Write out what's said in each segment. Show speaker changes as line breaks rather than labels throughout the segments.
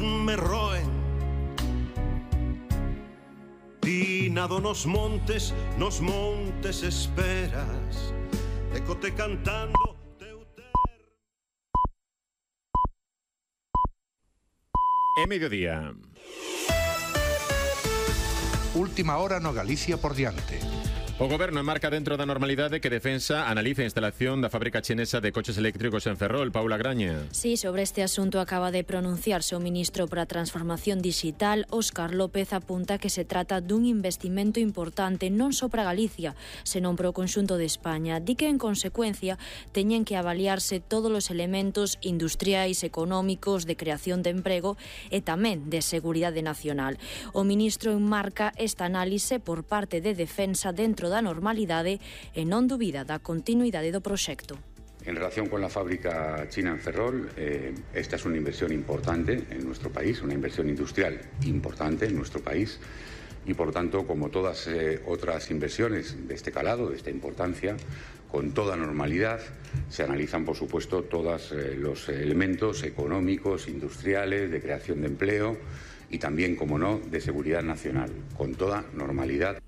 me roen. Tinado nos montes esperas, ecote cantando teu
É mediodía.
Última hora no Galicia por diante.
O Goberno enmarca dentro da normalidade que Defensa analiza a instalación da fábrica chinesa de coches eléctricos en Ferrol. Paula Graña.
Sí, sobre este asunto acaba de pronunciarse o ministro para a Transformación Digital, Óscar López, apunta que se trata dun investimento importante non só para Galicia, senón para o conxunto de España. Di que, en consecuencia, teñen que avaliarse todos os elementos industriais, económicos, de creación de emprego e tamén de seguridade nacional. O ministro enmarca esta análise por parte de Defensa dentro da normalidade e non dubida da continuidade do proxecto.
En relación con la fábrica china en Ferrol, esta es una inversión importante en nuestro país, una inversión industrial importante en nuestro país y, por tanto, como todas otras inversiones de este calado, de esta importancia, con toda normalidad se analizan, por supuesto, todos los elementos económicos, industriales, de creación de empleo y también, como no, de seguridad nacional, con toda normalidad.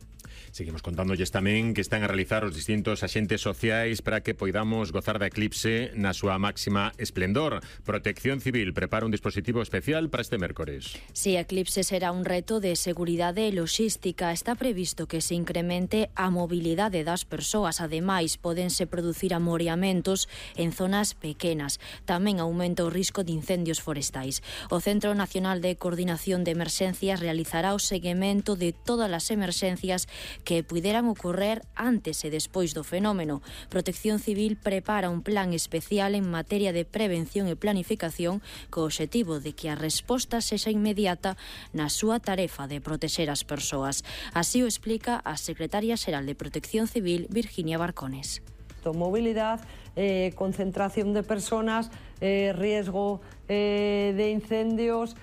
Seguimos contándolles tamén que están a realizar os distintos axentes sociais para que poidamos gozar da eclipse na súa máxima esplendor. Protección Civil prepara un dispositivo especial para este mércores.
Si a eclipse será un reto de seguridade e logística, está previsto que se incremente a mobilidade das persoas. Ademais, pódense producir amoreamentos en zonas pequenas. Tamén aumenta o risco de incendios forestais. O Centro Nacional de Coordinación de Emerxencias realizará o seguimento de todas as emerxencias que puderan ocorrer antes e despois do fenómeno. Protección Civil prepara un plan especial en materia de prevención e planificación co obxectivo de que a resposta sexa inmediata na súa tarefa de protexer as persoas. Así o explica a secretaria xeral de Protección Civil, Virginia Barcones.
Movilidad, concentración de personas, riesgo de incendios,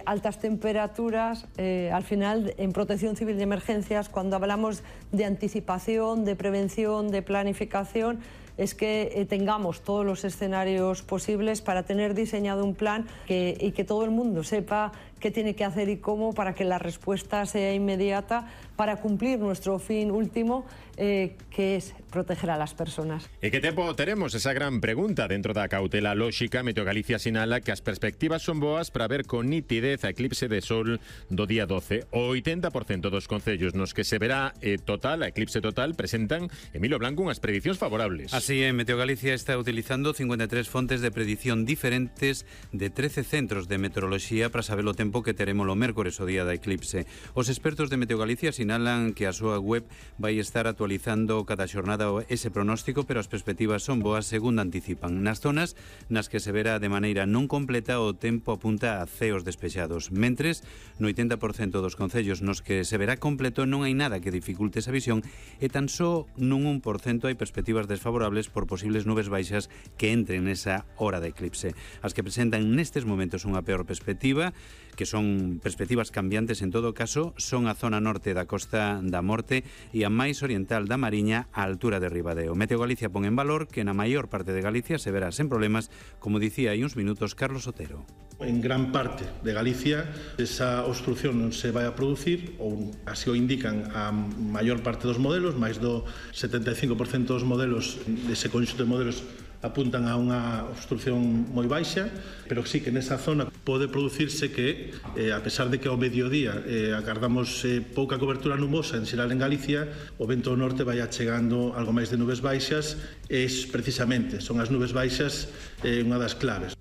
altas temperaturas. Al final, en Protección Civil de Emergencias, cuando hablamos de anticipación, de prevención, de planificación, es que tengamos todos los escenarios posibles para tener diseñado un plan y que todo el mundo sepa qué tiene que hacer y cómo para que la respuesta sea inmediata para cumplir nuestro fin último, que es proteger a las personas.
E que tempo teremos? Esa gran pregunta. Dentro da cautela lóxica, Meteo Galicia sinala que as perspectivas son boas para ver con nitidez a eclipse de sol do día 12. O 80% dos concellos nos que se verá a eclipse total, presentan, Emilio Blanco, unhas predicións favorables.
Así é, Meteo Galicia está utilizando 53 fontes de predición diferentes de 13 centros de meteoroloxía para saber o tempo que teremos o mércores o día da eclipse. Os expertos de Meteo Galicia sinalan que a súa web vai estar actualizando cada xornada ese pronóstico, pero as perspectivas son boas, segundo anticipan. Nas zonas nas que se verá de maneira non completa, o tempo apunta a ceos despexados. Mentres, no 80% dos concellos nos que se verá completo non hai nada que dificulte esa visión e tan só nun 1% hai perspectivas desfavorables por posibles nubes baixas que entren nesa hora de eclipse. As que presentan nestes momentos unha peor perspectiva, que son perspectivas cambiantes en todo caso, son a zona norte da Costa da Morte e a máis oriental da Mariña, á altura de Ribadeo. Meteo Galicia pon en valor que na maior parte de Galicia se verá sen problemas, como dicía hai uns minutos Carlos Otero.
En gran parte de Galicia esa obstrucción non se vai a producir, ou así o indican a maior parte dos modelos, máis do 75% dos modelos dese conxunto de modelos apuntan a unha obstrucción moi baixa, pero sí que nesa zona pode producirse que, a pesar de que ao mediodía agardamos pouca cobertura nubosa en xeral en Galicia, o vento do norte vai achegando algo máis de nubes baixas, e precisamente son as nubes baixas unha das claves.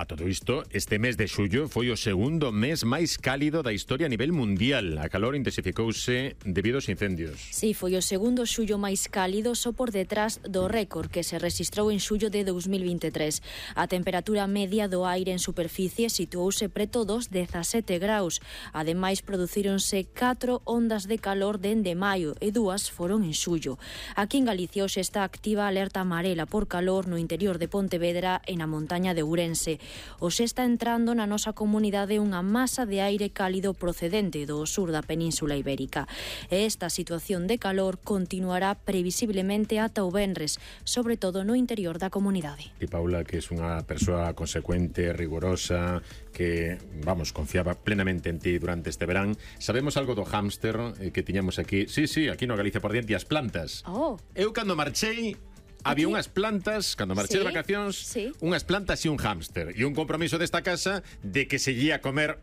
A todo isto, este mes de xullo foi o segundo mes máis cálido da historia a nivel mundial. A calor intensificouse debido aos incendios.
Sí, foi o segundo xullo máis cálido, só por detrás do récord que se rexistrou en xullo de 2023. A temperatura media do aire en superficie situouse preto dos 17 graus. Ademais, producíronse 4 ondas de calor dende maio e 2 foron en xullo. Aquí en Galicia hoxe está activa a alerta amarela por calor no interior de Pontevedra e na montaña de Ourense. Hoxe está entrando na nosa comunidade unha masa de aire cálido procedente do sur da Península Ibérica. E esta situación de calor continuará previsiblemente ata o venres, sobre todo no interior da comunidade.
E Paula, que é unha persoa consecuente, rigorosa, que, vamos, confiaba plenamente en ti durante este verán. Sabemos algo do hámster que tiñamos aquí. Sí, aquí no Galicia por diante, as plantas. Eu cando marchei, había unhas plantas, cando marchei de vacacións, unhas plantas e un hámster. E un compromiso desta casa de que se ía comer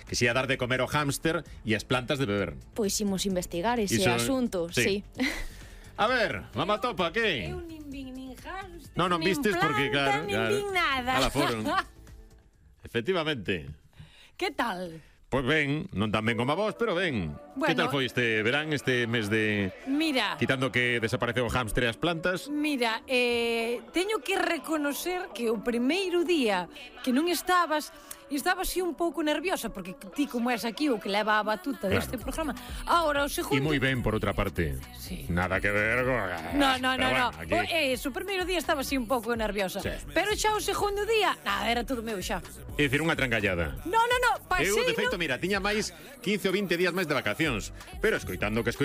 que se ia dar de comer o hámster e as plantas de beber.
Pois imos investigar ese asunto, sí.
A ver, mamá topa, que?
Eu nin vin nin hámster,
non vistes porque, claro,
nin vin nada.
Ala foron. Efectivamente.
Que tal?
Pois ben, non tan ben como a vos, pero ben.
Bueno,
que tal foi este verán, este mes de...
Mira...
Quitando que desapareceu o hámster e as plantas?
Mira, teño que reconocer que o primeiro día que non estabas así un pouco nerviosa, porque ti como és aquí o que leva a batuta deste programa. Ahora, o segundo...
E moi ben, por outra parte.
Sí.
Nada que ver con...
No.
Bueno, aquí...
O primeiro día estaba así un pouco nerviosa. Sí. Pero xa o segundo día, nada, era todo meu xa.
É dicir, unha trancallada.
No, pasei...
Eu, de feito, mira, tiña máis 15 ou 20 días máis de vacacións. Pero escoitando que